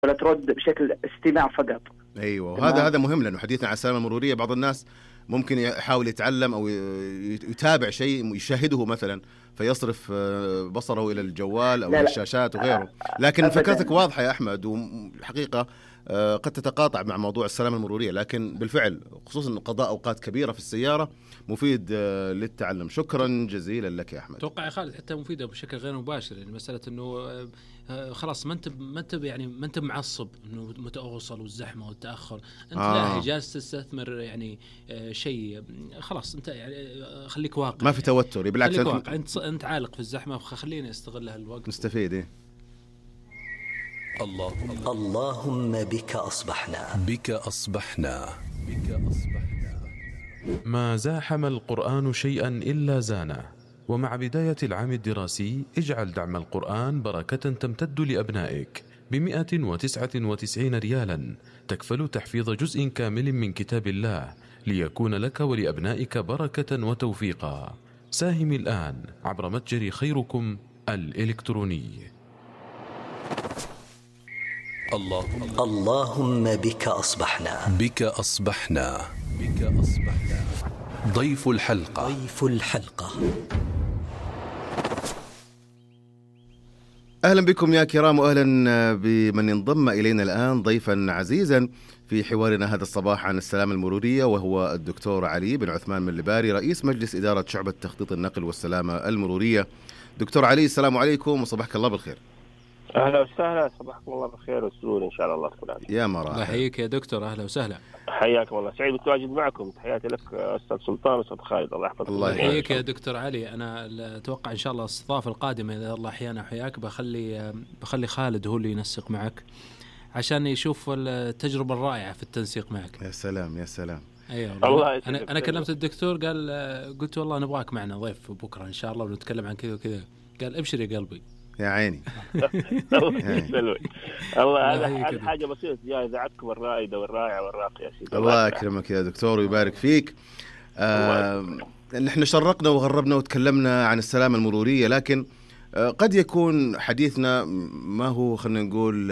ولا ترد بشكل استماع فقط. ايوه، وهذا هذا مهم، لانه حديثنا عن السلامه المروريه بعض الناس ممكن يحاول يتعلم او يتابع شيء يشاهده مثلا فيصرف بصره الى الجوال او الى الشاشات وغيره، لكن فكرتك واضحه يا احمد، وحقيقه قد تتقاطع مع موضوع السلامه المروريه، لكن بالفعل خصوصا قضاء اوقات كبيره في السياره مفيد للتعلم. شكرا جزيلا لك يا احمد. اتوقع يا خالد حتى مفيده بشكل غير مباشر، يعني مساله انه خلاص ما انت معصب انه متأوصل والزحمه والتاخر، انت لا جالس تستثمر يعني شيء، خلاص انت يعني خليك واقع، ما في توتر، بالعكس انت عالق في الزحمه، فخليني استغل هالوقت نستفيد. ايه اللهم بك أصبحنا ما زاحم القرآن شيئا إلا زانه. ومع بداية العام الدراسي اجعل دعم القرآن بركة تمتد لأبنائك ب199 ريالا، تكفل تحفيظ جزء كامل من كتاب الله ليكون لك ولأبنائك بركة وتوفيقا. ساهم الآن عبر متجر خيركم الإلكتروني. اللهم بك أصبحنا. ضيف الحلقة. أهلا بكم يا كرام، وأهلا بمن انضم إلينا الآن ضيفا عزيزا في حوارنا هذا الصباح عن السلامة المرورية، وهو الدكتور علي بن عثمان من اللباري، رئيس مجلس إدارة شعبة تخطيط النقل والسلامة المرورية. دكتور علي، السلام عليكم وصباحك الله بالخير. أهلا وسهلا، صباحكم الله بالخير والسرور إن شاء الله تكون عليك. يا مرحبا. الله يحييك يا دكتور، أهلا وسهلا. حياكم الله، سعيد بالتواجد معكم. تحياتي لك أستاذ سلطان وأستاذ خالد، الله يحفظك. الله يحييك يا دكتور علي. أنا أتوقع إن شاء الله الاستضافة القادمة إذا الله أحيانا حياك بخلي خالد هو اللي ينسق معك عشان يشوف التجربة الرائعة في التنسيق معك. يا سلام يا سلام. أيوة الله. أنا كلمت الدكتور قلت والله نبغاك معنا ضيف بكرة إن شاء الله ونتكلم عن كذا وكذا، قال أبشر يا قلبي. يا عيني. الله هذا حاجة بسيطة يا إذاعتكم الرائدة والرائعة والراقية يا سيدي. الله يكرمك يا دكتور ويبارك فيك. نحن شرقنا وغربنا وتكلمنا عن السلامة المرورية، لكن قد يكون حديثنا ما هو، خلينا نقول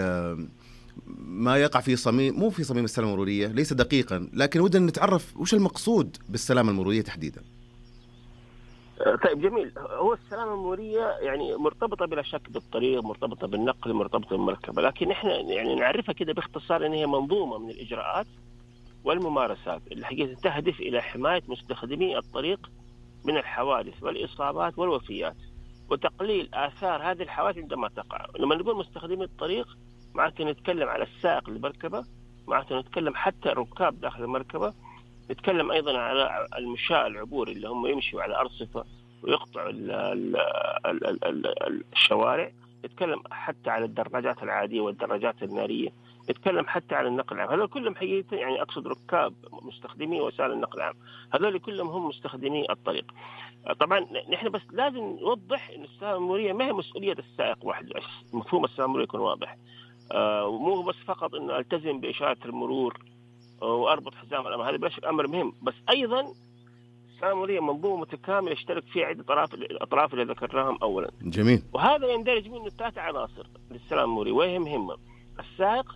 ما يقع في صميم، مو في صميم السلامة المرورية، ليس دقيقا، لكن ودنا نتعرف وش المقصود بالسلامة المرورية تحديدا. طيب جميل. هو السلامة المرورية يعني مرتبطة بلا شك بالطريق، مرتبطة بالنقل، مرتبطة بالمركبة، لكن احنا يعني نعرفها كده باختصار ان هي منظومة من الإجراءات والممارسات اللي حقيقة تهدف إلى حماية مستخدمي الطريق من الحوادث والإصابات والوفيات، وتقليل آثار هذه الحوادث عندما تقع. لما نقول مستخدمي الطريق معناته نتكلم على السائق المركبة، معناته نتكلم حتى الركاب داخل المركبة، نتكلم أيضا على المشاة العبور اللي هم يمشوا على أرصفة ويقطعوا الشوارع، نتكلم حتى على الدراجات العادية والدراجات النارية، نتكلم حتى على النقل العام. هذول كلهم حقيقة يعني أقصد ركاب مستخدمي وسائل النقل العام، هذول كلهم هم مستخدمي الطريق. طبعا نحن بس لازم نوضح أن السلامة المرورية ما هي مسؤولية السائق وحده، مفهوم السلامة المرورية يكون واضح، ومو بس فقط أنه ألتزم بإشارة المرور وأربط حزام الأمان، هذا بلا أمر مهم، بس أيضا السلامة المرورية منظومة متكاملة يشترك فيها عدة أطراف اللي ذكرناهم أولا. جميل. وهذا يندرج منه 3 عناصر للسلامة المرورية وهي مهمة: السائق،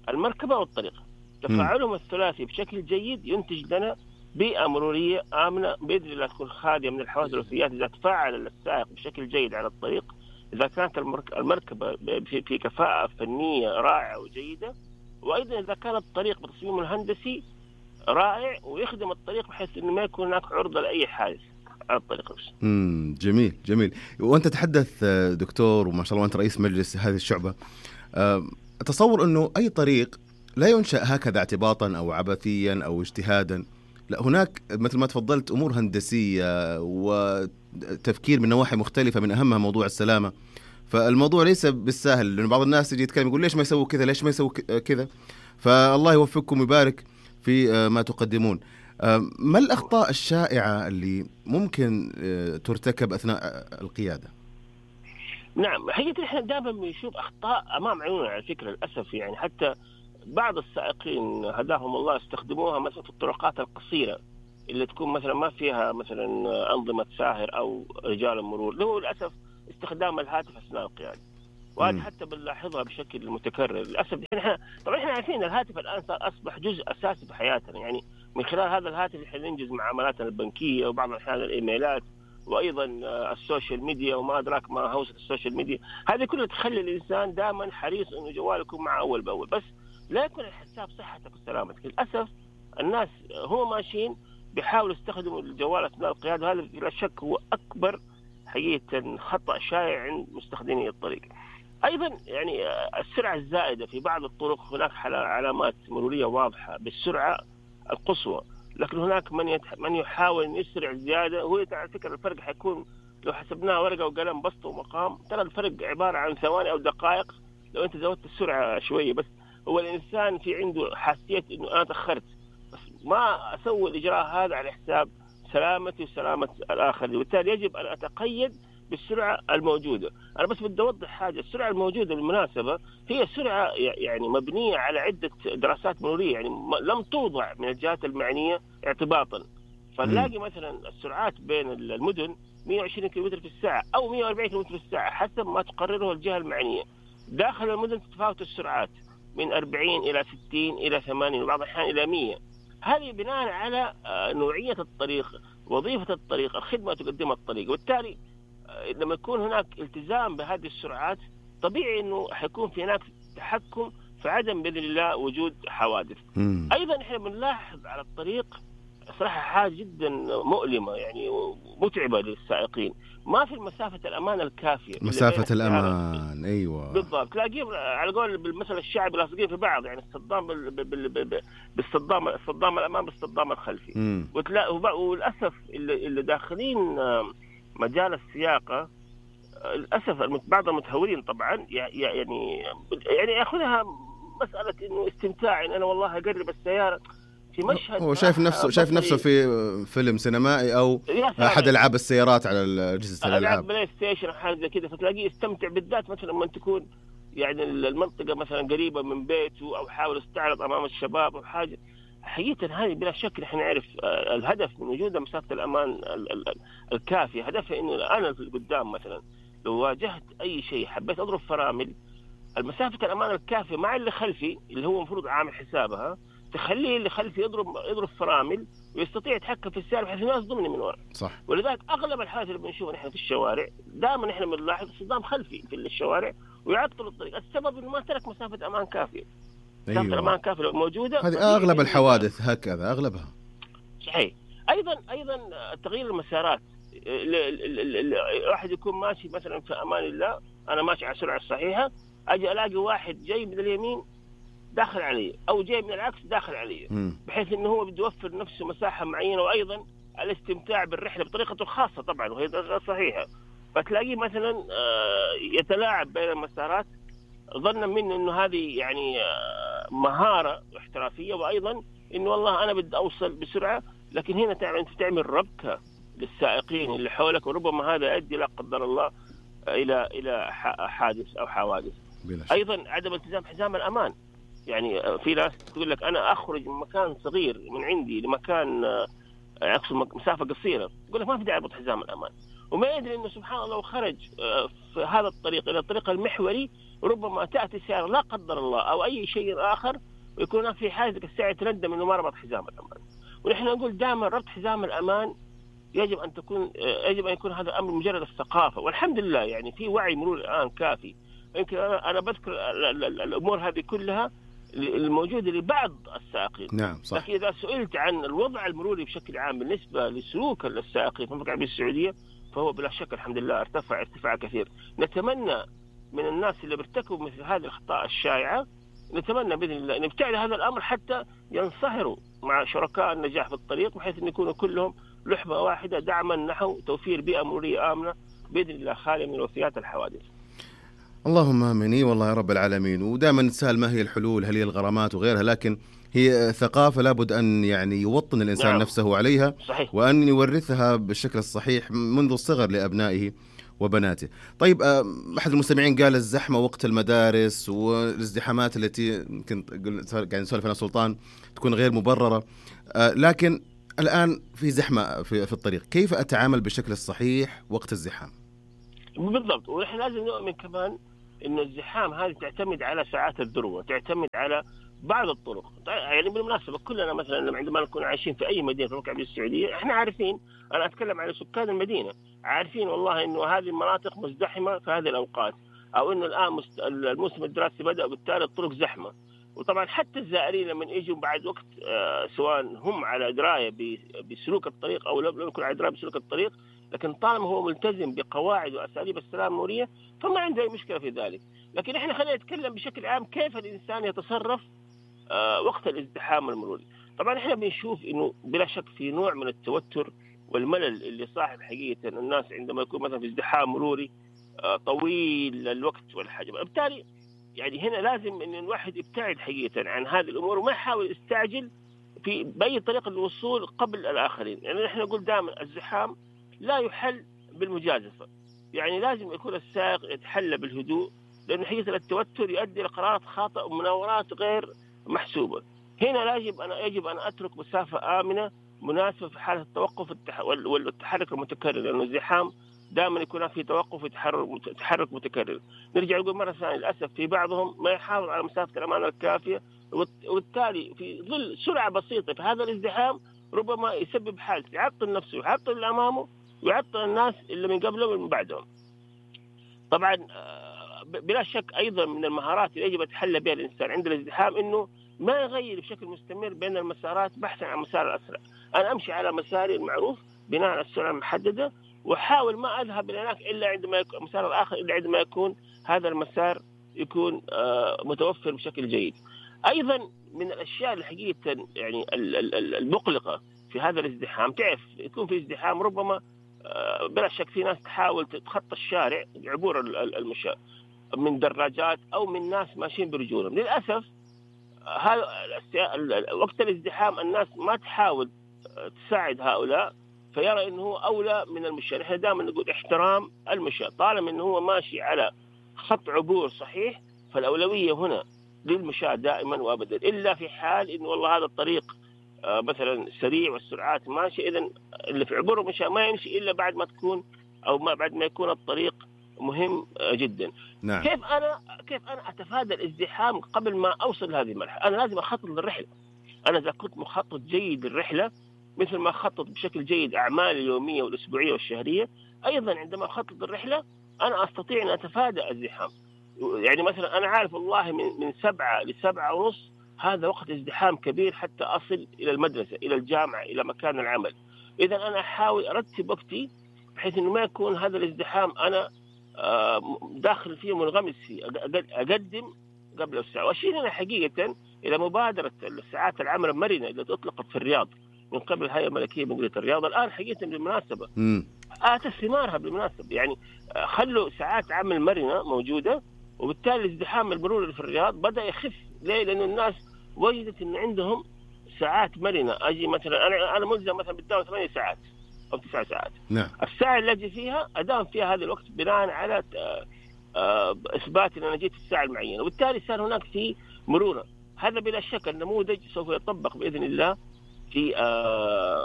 المركبة والطريق. تفاعلهم الثلاثي بشكل جيد ينتج لنا بيئة مرورية آمنة بإذن الله تكون خالية من الحوادث والوفيات إذا تفاعل السائق بشكل جيد على الطريق، إذا كانت المركبة في كفاءة فنية رائعة وجيدة، وأيضا إذا كان الطريق بتصميمه الهندسي رائع ويخدم الطريق بحيث إنه ما يكون هناك عرضة لأي حادث على الطريق. جميل جميل. وأنت تحدث دكتور وما شاء الله أنت رئيس مجلس هذه الشعبة، أتصور أنه أي طريق لا ينشأ هكذا اعتباطا أو عبثيا أو اجتهادا، لا، هناك مثل ما تفضلت أمور هندسية وتفكير من نواحي مختلفة، من أهمها موضوع السلامة. فالموضوع ليس بالسهل، لأن بعض الناس يجي يتكلم يقول ليش ما يسوي كذا، ليش ما يسوي كذا. فالله يوفقكم ويبارك في ما تقدمون. ما الأخطاء الشائعة اللي ممكن ترتكب أثناء القيادة؟ نعم، حقيقة إحنا دائما بنشوف أخطاء أمام عيوننا على فكرة للأسف، يعني حتى بعض السائقين هداهم الله استخدموها مثلا في الطرقات القصيرة اللي تكون مثلا ما فيها مثلا أنظمة ساهر أو رجال المرور، له للأسف استخدام الهاتف أثناء القيادة. وهذه حتى بنلاحظها بشكل متكرر للاسف. طبعا احنا عارفين الهاتف الان اصبح جزء اساسي في حياتنا، يعني من خلال هذا الهاتف احنا ننجز معاملاتنا البنكيه وبعض الاحيان الايميلات وايضا السوشيال ميديا وما ادراك ما هوسه السوشيال ميديا. هذه كلها تخلي الانسان دائما حريص انه جواله يكون معه اول باول، بس لا يكون الحساب صحتك وسلامتك. للاسف الناس هم ماشيين بيحاولوا يستخدموا الجوال اثناء القياده، وهذا بلا شك هو اكبر حقيقه خطا شائع عند مستخدمي الطريق. ايضا يعني السرعه الزائده في بعض الطرق، هناك علامات مروريه واضحه بالسرعه القصوى، لكن هناك من يحاول ان يسرع زياده. هو على فكره الفرق حيكون لو حسبناه ورقه وقلم بسط ومقام، ترى الفرق عباره عن ثواني او دقائق لو انت زودت السرعه شويه. بس هو الانسان في عنده حاسيه انه انا تاخرت، بس ما اسوي الاجراء هذا على حساب سلامتي وسلامه الاخر، وبالتالي يجب ان اتقيد بالسرعه الموجوده. انا بس بدي اوضح حاجه، السرعه الموجوده بالمناسبه هي سرعه يعني مبنيه على عده دراسات مروريه، يعني لم توضع من الجهات المعنيه اعتباطا. فنلاقي مثلا السرعات بين المدن 120 كم في الساعه او 140 كم في الساعه حسب ما تقرره الجهه المعنيه. داخل المدن تتفاوت السرعات من 40 الى 60 الى 80 وبعض الاحيان الى 100. هذه بناء على نوعيه الطريق، وظيفه الطريق، الخدمه تقدمها الطريق. وبالتالي لما يكون هناك التزام بهذه السرعات طبيعي انه حيكون في هناك تحكم في عدم باذن الله وجود حوادث. ايضا احنا بنلاحظ على الطريق صراحه حاجه جدا مؤلمه يعني ومتعبه للسائقين، ما في مسافه الامان الكافيه. مسافه الامان ايوه بالضبط، تلاقيه على قول بالمثل الشعبي لاصقين في بعض، يعني الصدام بالصدام الامام بالصدام الخلفي. وللاسف اللي داخلين مجال السياقه للاسف بعض المتهورين طبعا يعني ياخذها مساله انه استمتاع، إن انا والله اقرب السياره في مشهد. هو شايف نفسه في فيلم سينمائي او احد العاب السيارات على اجهزه الالعاب، بلاي ستيشن حاجه زي كذا، فتلاقيه يستمتع بالذات مثلا لما تكون يعني المنطقه مثلا قريبه من بيته او حاول يستعرض امام الشباب او حاجه. حقيقة هذه بلا شك نحن نعرف الهدف من وجود مسافة الأمان الكافية، هدفها إنه أنا في القدام مثلا لو واجهت أي شيء حبيت أضرب فرامل، المسافة الأمان الكافية مع اللي خلفي اللي هو مفروض عامل حسابها تخليه اللي خلفي يضرب فرامل ويستطيع يتحكم في السيارة بحيث ما يصدمني من وراء. صح. ولذلك أغلب الحالات اللي بنشوفها نحن في الشوارع دائما نحن بنلاحظ صدام خلفي في الشوارع ويعطل الطريق، السبب إنه ما ترك مسافة أمان كافية. أيوة. الأمان كافية موجودة. هذه أغلب الحوادث هكذا أغلبها. صحيح. أيضا تغيير المسارات، واحد يكون ماشي مثلا في أمان الله، أنا ماشي على السرعة الصحيحة، أجي ألاقي واحد جاي من اليمين داخل علي أو جاي من العكس داخل علي، بحيث إنه هو بده يوفر نفسه مساحة معينة، وأيضا الاستمتاع بالرحلة بطريقته الخاصة طبعا وهي صحيحة. فتلاقيه مثلا يتلاعب بين المسارات ظنا منه إنه هذه يعني مهارة احترافية، وأيضا إنه والله أنا بدي أوصل بسرعة، لكن هنا أنت تعمل ربكة للسائقين اللي حولك، وربما هذا يؤدي لا قدر الله إلى حادث أو حوادث. أيضا عدم التزام حزام الأمان، يعني في ناس تقول لك أنا أخرج من مكان صغير من عندي لمكان أقصد مسافة قصيرة، يقول لك ما في داعي أربط حزام الأمان، وما يدري إنه سبحان الله لو خرج في هذا الطريق إلى الطريق المحوري ربما تأتي سيارة لا قدر الله أو أي شيء آخر ويكون هناك في حاجة الساعة تندم إنه ما ربط حزام الأمان. ونحن نقول دائما ربط حزام الأمان يجب أن يكون هذا الأمر مجرد الثقافة، والحمد لله يعني في وعي مرور الآن كافي. يمكن أنا بذكر الأمور هذه كلها الموجودة لبعض السائقين. نعم صح. لكن إذا سئلت عن الوضع المروري بشكل عام بالنسبة لسلوك السائقين في المملكة العربية السعودية فهو بلا شك الحمد لله ارتفاع كثير. نتمنى من الناس اللي بيرتكبوا مثل هذه الأخطاء الشائعة، نتمنى بإذن الله أن يبتعد هذا الأمر حتى ينصهروا مع شركاء النجاح في الطريق، بحيث أن يكونوا كلهم لحمة واحدة دعما نحو توفير بيئة مرورية آمنة بإذن الله خالية من وفيات الحوادث. اللهم آمين والله يا رب العالمين. ودائما نتساءل ما هي الحلول، هل هي الغرامات وغيرها، لكن هي ثقافة لابد أن يعني يوطن الإنسان نعم. نفسه عليها. صحيح. وأن يورثها بالشكل الصحيح منذ الصغر لأبنائه وبناته. طيب أحد المستمعين قال الزحمة وقت المدارس والازدحامات التي كنت قاعد نسولف أنا سلطان تكون غير مبررة، لكن الآن في زحمة في الطريق، كيف أتعامل بالشكل الصحيح وقت الزحام؟ بالضبط. ونحن لازم نؤمن كمان إنه الزحام هذه تعتمد على ساعات الذروة، تعتمد على بعض الطرق. يعني بالمناسبة كلنا مثلا عندما نكون عايشين في أي مدينة في المملكة العربية السعودية إحنا عارفين، أنا أتكلم على سكان المدينة، عارفين والله إنه هذه المناطق مزدحمة في هذه الأوقات، أو إنه الآن الموسم الدراسي بدأ وبالتالي الطرق زحمة. وطبعا حتى الزائرين لما يجوا بعد وقت سواء هم على دراية بسلوك الطريق أو لم يكن على دراية بسلوك الطريق، لكن طالما هو ملتزم بقواعد وأساليب السلامة المرورية فما عنده أي مشكلة في ذلك. لكن إحنا خلينا نتكلم بشكل عام كيف الإنسان يتصرف وقت الازدحام المروري. طبعا إحنا بنشوف إنه بلا شك في نوع من التوتر والملل اللي صاحب حقيقة الناس عندما يكون مثلا في ازدحام مروري طويل الوقت والحاجة. بالتالي يعني هنا لازم إن الواحد يبتعد حقيقة عن هذه الأمور وما يحاول يستعجل في بأي طريقة للوصول قبل الآخرين. يعني نحن نقول دائما الزحام لا يحل بالمجازفة، يعني لازم يكون السائق يتحلى بالهدوء، لأن حقيقة التوتر يؤدي لقرارات خاطئة ومناورات غير محسوبة. هنا يجب أن أترك مسافة آمنة مناسبة في حالة التوقف والتحرك المتكرر، لأنه الزحام دائما يكون في توقف وتحرك متكرر. نرجع نقول مرة ثانية للأسف في بعضهم ما يحافظ على مسافة الأمان الكافية، وبالتالي في ظل سرعة بسيطة في هذا الازدحام ربما يسبب حادث يعطل نفسه ويعطل اللي أمامه ويعطل الناس اللي من قبله ومن بعدهم. طبعا بلا شك أيضا من المهارات اللي يجب يتحلى بها الإنسان عند الازدحام إنه ما يغير بشكل مستمر بين المسارات بحثا عن مسار الأسرع. أنا أمشي على مساري المعروف بناء على السرعة المحددة، وحاول ما أذهب إلى هناك إلا عندما يكون المسار الآخر إلا عندما يكون هذا المسار يكون متوفر بشكل جيد. أيضا من الأشياء الحقيقة يعني المقلقة في هذا الازدحام، تعرف يكون في ازدحام ربما بلا شك في ناس تحاول تتخطى الشارع عبور المشاة من دراجات أو من ناس ماشيين برجولهم. للأسف هذا وقت الازدحام الناس ما تحاول تساعد هؤلاء، فيرى أنه هو أولى من المشاة. نحن دائما نقول احترام المشاة، طالما أنه هو ماشي على خط عبور صحيح فالأولوية هنا للمشاة دائما وأبدا، إلا في حال إنه والله هذا الطريق مثلا سريع والسرعات ماشي، إذن اللي في عبور المشاة ما يمشي إلا بعد ما تكون أو ما بعد ما يكون الطريق مهم جدا. نعم. كيف أنا أتفادى الازدحام قبل ما أوصل لهذه المرحلة؟ أنا لازم أخطط للرحلة. أنا إذا كنت مخطط جيد للرحلة مثل ما أخطط بشكل جيد أعمالي اليومية والأسبوعية والشهرية، أيضا عندما أخطط للرحلة أنا أستطيع أن أتفادى الازدحام. يعني مثلا أنا عارف والله من 7 ل7:30 هذا وقت ازدحام كبير حتى أصل إلى المدرسة إلى الجامعة إلى مكان العمل. إذا أنا أحاول أرتب وقتي بحيث إنه ما يكون هذا الازدحام أنا داخل فيه منغمس فيه، أقدم قبل الساعة. وأشير هنا حقيقة إلى مبادرة الساعات العمل المرنة التي أطلقت في الرياض من قبل الهيئة الملكية بمديرية الرياض. الآن حقيقة بالمناسبة آتت ثمارها بالمناسبة، يعني خلوا ساعات عمل مرنة موجودة، وبالتالي الازدحام المروري في الرياض بدأ يخف. ليه؟ لأن الناس وجدت إن عندهم ساعات مرنة. أجي مثلا أنا ملزم مثلا بالدوام 8 ساعات أو 9 ساعات. نعم. الساعة اللي أجي فيها أدام فيها هذا الوقت بناء على إثبات أن أنا جيت في الساعة المعينة، وبالتالي صار هناك في مرونة. هذا بلا شك النموذج سوف يطبق بإذن الله في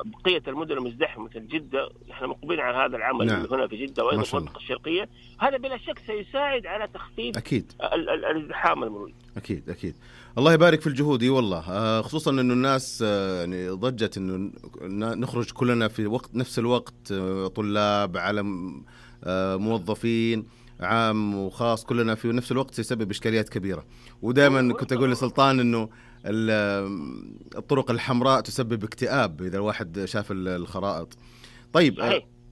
بقية المدن المزدحمة مثل جدة. نحن مقبلين على هذا العمل. نعم. هنا في جدة وأيضا في المنطقة الشرقية. هذا بلا شك سيساعد على تخفيف أكيد الازدحام المروري. أكيد. الله يبارك في الجهود والله، خصوصا إنه الناس يعني ضجت إنه نخرج كلنا في نفس الوقت، طلاب على موظفين عام وخاص كلنا في نفس الوقت سيسبب إشكاليات كبيرة. ودائما كنت أقول لسلطان إنه الطرق الحمراء تسبب اكتئاب إذا الواحد شاف الخرائط. طيب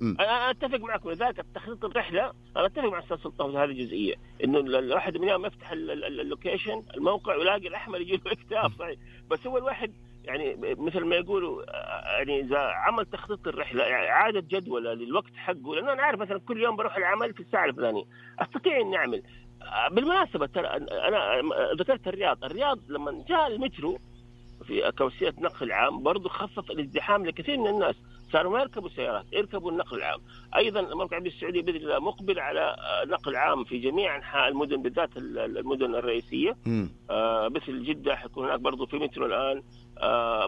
أنا أتفق معكم. لذلك تخطيط الرحلة أنا أتفق مع أستاذ سلطان في هذه الجزئية، إنه الواحد من يوم يفتح اللوكيشن الموقع ويلاقي الأحمر يجي له اكتئاب صحيح. بس هو الواحد يعني مثل ما يقولوا يعني إذا عمل تخطيط الرحلة يعني عادة جدولة للوقت حقه، لأنه أنا عارف مثلا كل يوم بروح العمل في الساعة الفلانية أستطيع أن أعمل. بالمناسبة ترى أنا ذكرت الرياض لما جاء المترو في كوسيلة نقل عام برضو خفف الازدحام لكثير من الناس، صاروا ما يركبوا سيارات يركبوا النقل العام. أيضا المملكة العربية السعودية بإذن الله مقبل على نقل عام في جميع أنحاء المدن بالذات المدن الرئيسية. مثل جدة حيكون هناك برضو في مترو الآن،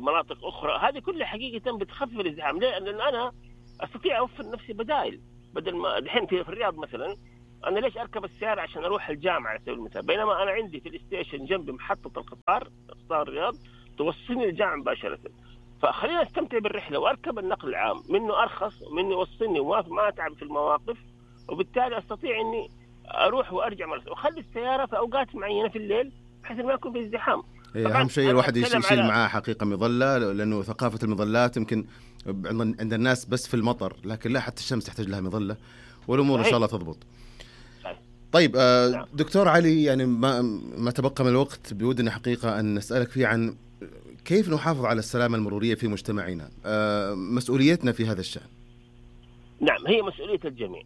مناطق أخرى. هذه كلها حقيقة بتخفف الازدحام. ليه؟ لأن أنا أستطيع أوفر نفسي بدائل، بدل ما دحين في الرياض مثلا انا ليش اركب السياره عشان اروح الجامعه على سبيل المثال، بينما انا عندي في الستيشن جنبي محطه القطار الرياض توصلني للجامعه مباشره. فخلينا استمتع بالرحله واركب النقل العام، منه ارخص ومنه يوصلني وما اتعب في المواقف، وبالتالي استطيع اني اروح وارجع مرة، واخلي السياره في اوقات معينه في الليل بحيث ما يكون في ازدحام. اهم شيء الواحد يشيل معاه حقيقه مظله، لانه ثقافه المظلات يمكن عند الناس بس في المطر، لكن لا، حتى الشمس تحتاج لها مظله، والامور ان شاء الله تضبط. طيب دكتور علي، يعني ما تبقى من الوقت بودنا حقيقه ان نسالك فيه عن كيف نحافظ على السلامه المروريه في مجتمعنا، مسؤوليتنا في هذا الشأن. نعم، هي مسؤوليه الجميع.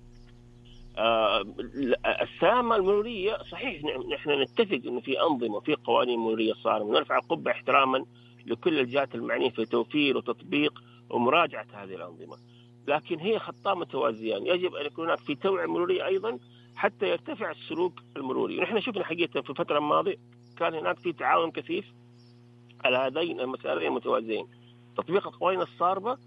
السلامة المرورية صحيح نحن نتفق أنه في أنظمة وفي قوانين مرورية صارمة، ونرفع القبعة احتراما لكل الجهات المعنية في توفير وتطبيق ومراجعة هذه الأنظمة، لكن هي خطان متوازيان. يجب أن يكون هناك في توعية مرورية أيضا حتى يرتفع السلوك المروري. ونحن شفنا حقيقة في الفترة الماضية كان هناك في تعاون كثيف على هذين المسارين المتوازيين، تطبيق القوانين الصارمة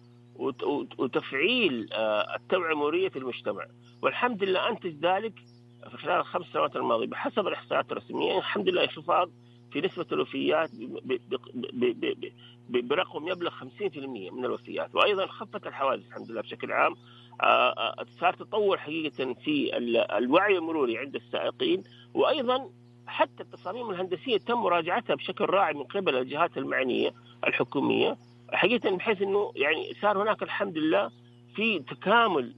وتفعيل التوعية المرورية في المجتمع. والحمد لله أنتج ذلك في خلال ال5 سنوات الماضية بحسب الإحصائيات الرسمية، الحمد لله انخفاض في نسبة الوفيات برقم يبلغ 50% من الوفيات، وأيضا خفت الحوادث الحمد لله بشكل عام. صار تطور حقيقة في الوعي المروري عند السائقين، وأيضا حتى التصاميم الهندسية تم مراجعتها بشكل راعي من قبل الجهات المعنية الحكومية حقيقة، بحيث أنه يعني صار هناك الحمد لله في تكامل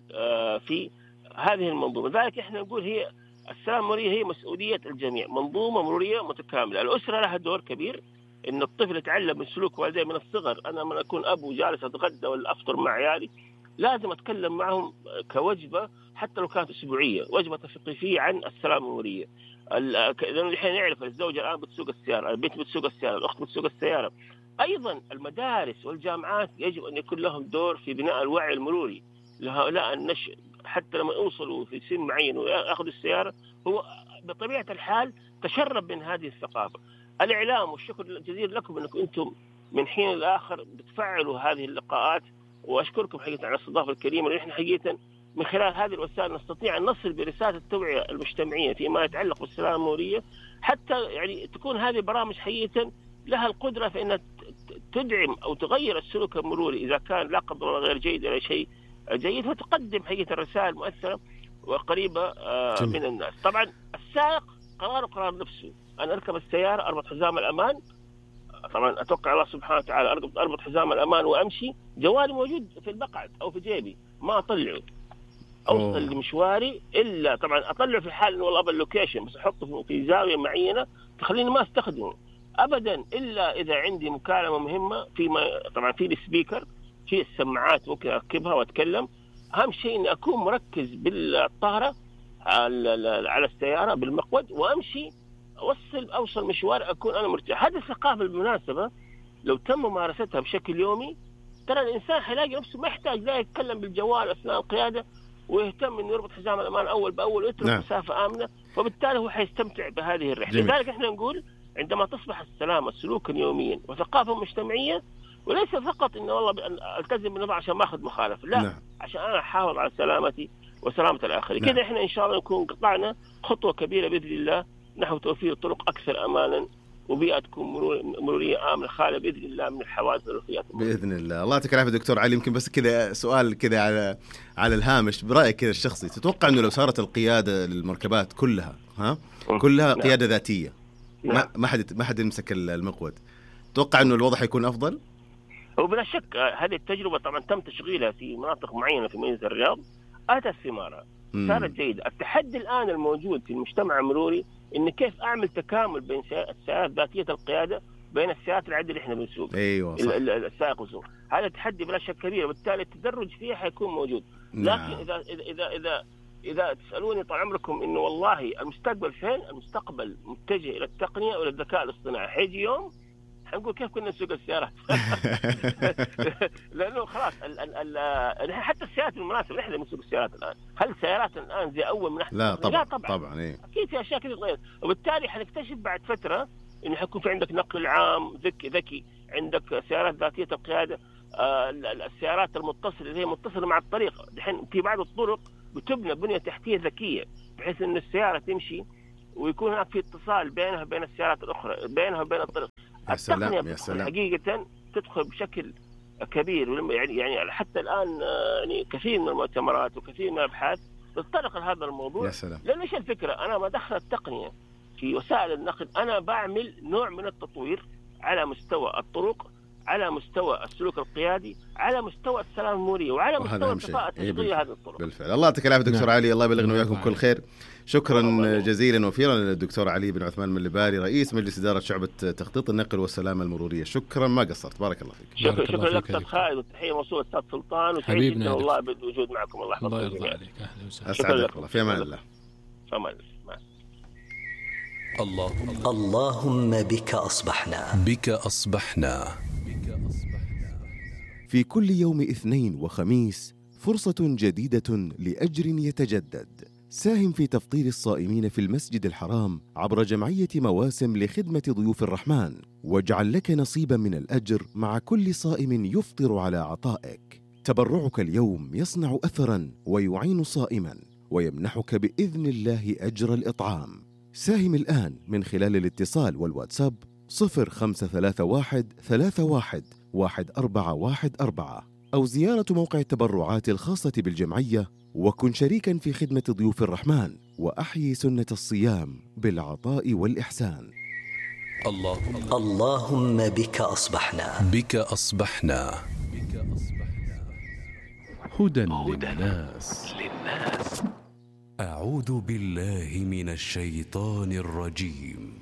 في هذه المنظومة. لذلك احنا نقول هي السلامة المرورية هي مسؤولية الجميع، منظومة مرورية متكاملة. الأسرة لها دور كبير، إن الطفل يتعلم من سلوك والديه من الصغر. أنا لما أكون أبو جالس أتغدى ولا أفطر مع عيالي لازم أتكلم معهم كوجبة حتى لو كانت أسبوعية، وجبة تثقيفية عن السلامة المرورية. لأنه الحين نعرف الزوجة الآن بتسوق السيارة، البنت بتسوق السيارة، الأخت بتسوق السيارة. أيضا المدارس والجامعات يجب أن يكون لهم دور في بناء الوعي المروري لهؤلاء النشء، حتى لما يوصلوا في سن معين ويأخذوا السيارة هو بطبيعة الحال تشرب من هذه الثقافة. الإعلام، والشكر الجزيل لكم أنكم أنتم من حين لآخر بتفعلوا هذه اللقاءات، وأشكركم حقيقة على الاستضافة الكريمة. ونحن حقيقة من خلال هذه الوسائل نستطيع أن نصل برسالة التوعية المجتمعية فيما يتعلق بالسلامة المرورية، حتى يعني تكون هذه البرامج حقيقة لها القدرة في أن تدعم أو تغير السلوك المروري إذا كان لا قدر الله غير جيد إلى شيء جيد، وتقدم حقيقة الرسائل مؤثرة وقريبة من الناس. طبعا السائق قرار نفسه، أنا أركب السيارة أربط حزام الأمان، طبعا أتوقع الله سبحانه وتعالى أربط حزام الأمان وأمشي، جوالي موجود في المقعد أو في جيبي ما أطلعه، أوصل لمشواري إلا طبعا أطلعه في حال إنه والله باللوكيشن، بس أحطه في زاوية معينة تخليني ما أستخدمه أبدا إلا إذا عندي مكالمة مهمة. طبعا في السبيكر، في السماعات ممكن أركبها وأتكلم. أهم شيء إني أكون مركز بالطارة على السيارة بالمقود، وأمشي أوصل مشوار أكون أنا مرتاح. هذه الثقافة بالمناسبة لو تم ممارستها بشكل يومي، ترى الإنسان حيلاقي نفسه ما يحتاج لا يتكلم بالجوال أثناء القيادة، ويهتم إنه يربط حزام الأمان أول بأول ويترك مسافة آمنة، وبالتالي هو حيستمتع بهذه الرحلة. لذلك إحنا نقول عندما تصبح السلامة سلوكا يوميا وثقافة مجتمعية، وليس فقط إنه والله ألتزم بالنظام عشان ما أخذ مخالفة، لا، عشان أنا أحافظ على سلامتي وسلامة الآخرين. كده إحنا إن شاء الله نكون قطعنا خطوة كبيرة بإذن الله نحو توفير طرق أكثر أمانا وبيئة تكون مرورية آمنة خالية بإذن الله من الحوادث والوفيات بإذن الله. الله يعطيك العافية دكتور علي. يمكن بس كذا سؤال كذا على الهامش، برأيك كذا الشخصي، تتوقع إنه لو صارت القيادة للمركبات كلها كلها قيادة ذاتية، ما حد يمسك المقود، تتوقع إنه الوضع حيكون أفضل؟ وبلا شك هذه التجربة طبعا تم تشغيلها في مناطق معينة في مدينة الرياض، أتت ثمارها، صارت جيدة. التحدي الآن الموجود في المجتمع المروري إن كيف أعمل تكامل بين السيارات ذاتية القيادة بين السيارات العادية اللي إحنا بنسوق. أيوة صح. السائق والسوق، هذا تحدي بلا شك كبير، وبالتالي التدرج فيه حيكون موجود. لكن إذا تسألوني طال عمركم إنه والله المستقبل فين؟ المستقبل متجه إلى التقنية وإلى الذكاء الاصطناعي. حيجي يوم حنقول كيف كنا نسوق السيارات لأنه خلاص حتى السيارات بالمناسبة نحن نسوق السيارات الآن. هل السيارات الآن زي أول من أحسن؟ لا طبعا إيه. أكيد في أشياء كثير تغير، وبالتالي حنكتشف بعد فترة إنه حيكون في عندك نقل عام ذكي، عندك سيارات ذاتية القيادة، السيارات المتصلة اللي هي متصلة مع الطريق. الحين في بعض الطرق بتبنى بنية تحتية ذكية بحيث أن السيارة تمشي ويكون هناك في اتصال بينها وبين السيارات الأخرى، بينها وبين الطريق. يا سلام التقنية يا سلام. حقيقة تدخل بشكل كبير، يعني حتى الآن يعني كثير من المؤتمرات وكثير من الأبحاث تتطرق لهذا الموضوع. يا سلام. لأن إيش الفكرة؟ أنا ما دخل التقنية في وسائل النقل، أنا بعمل نوع من التطوير على مستوى الطرق، على مستوى السلوك القيادي، على مستوى السلامة المرورية، وعلى مستوى الكفاءة التشغيلية هذه الطرق. بالفعل. الله يعطيك العافية دكتور علي، الله يبلغنا وياكم كل خير. شكرا جزيلا وفيرا للدكتور علي بن عثمان مليباري، رئيس مجلس إدارة شعبة تخطيط النقل والسلامة المرورية. شكرا ما قصرت، بارك الله فيك. شكرا لك أستاذ خالد، والتحية موصولة أستاذ سلطان، وسعيد جدا والله بالوجود معكم. الله يحفظك. الله يرضى عليك. أهلا وسهلا. أسعدك الله. في أمان الله. في أمان الله. اللهم بك أصبحنا. بك أصبحنا. في كل يوم اثنين وخميس فرصة جديدة لأجر يتجدد. ساهم في تفطير الصائمين في المسجد الحرام عبر جمعية مواسم لخدمة ضيوف الرحمن، واجعل لك نصيبا من الأجر مع كل صائم يفطر على عطائك. تبرعك اليوم يصنع أثرا ويعين صائما ويمنحك بإذن الله أجر الإطعام. ساهم الآن من خلال الاتصال والواتساب 0531 31 1414 أو زيارة موقع التبرعات الخاصة بالجمعية، وكن شريكا في خدمة ضيوف الرحمن وأحيي سنة الصيام بالعطاء والإحسان. اللهم بك أصبحنا. بك أصبحنا. هدى للناس. أعوذ بالله من الشيطان الرجيم.